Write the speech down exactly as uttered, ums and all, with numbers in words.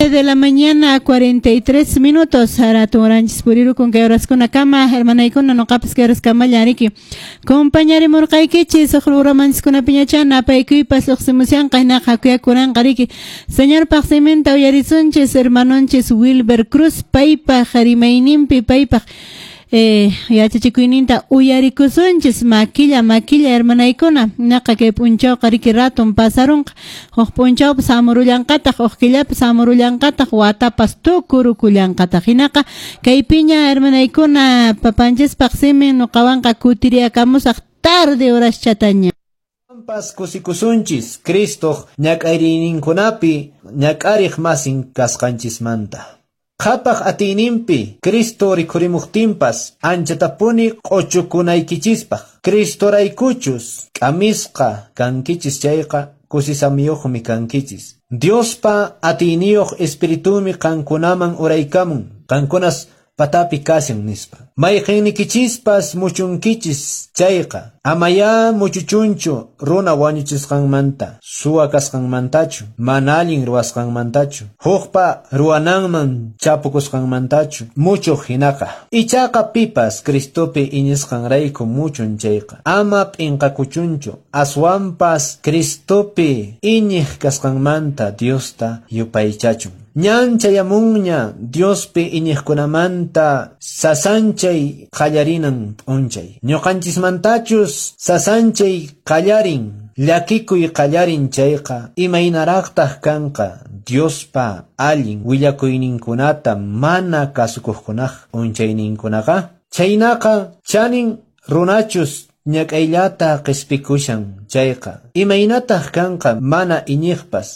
De la mañana, cuarenta y tres minutos. Raturanchis purirukun kay horaskunakama, hermanaykuna, noqapas kay horaskamalla riki compañarimurqaykichis. Huk programanchis napaykuypas lluqsimushanqa, hinaqa hakuyakuranqa riki Señorpaq siminta uyarisunchis hermanonchis Wilber Cruz paypaq rimayninpi, paypaq eh, yachachikuyninta uyarikusunchis makilla makilla, hermanaykuna. Naqa kay p'unchawqa riki raton pasarunqa, huk p'unchawpas hamurullanqataq, huk killapas hamurullanqataq, watapas tukurukullanqataq. Hinaqa kaypiña, hermanaykuna, papanchispaq simin. Nuqawanqa kutiriyakamusaq tarde horaschataña. Pas kusikusunchis Cristoq ñak'ariyninkunapi ñak'ariq masin kasqanchismanta. Qhapaq atiyninpi Cristo rikhurimuqtinpas anchatapuni q'uchukunaykichispaq. Cristoraykuchus k'amisqa kankichis chayqa kusisamiyuqmi kankichis. Diospa atiyniyuq Espiritumi qankunaman uraykamun, qankunas patapi kashan nispa. Mayqinnikichispas muchunkichis chayqa, amayá muchuchunchu runa wañuchisqanmanta, suwa kasqanmantachu, mana allin ruwasqanmantachu, hukpa ruwananman chapukusqanmantachu muchuq hinaqa. Ichaqa pipas Cristopi iñisqanrayku muchun chayqa, ama p'inqakuchunchu, aswanpas Cristopi iñiq kasqanmanta Diosta yupaychachun. Ñan chayamunña Diospi iñiqkunamanta sasanchay qallarinan p'unchay. Ñuqanchismantachus sasanchay qallarin, llakikuy qallarin chayqa, imaynaraqtaq kanqa Diospa allin willakuyninkunata mana kasukuqkunaq p'unchayninkunaqa? Chaynaqa chanin runachus ñak'ayllata qispikushan chayqa, imaynataq kanqa mana iñiqpas?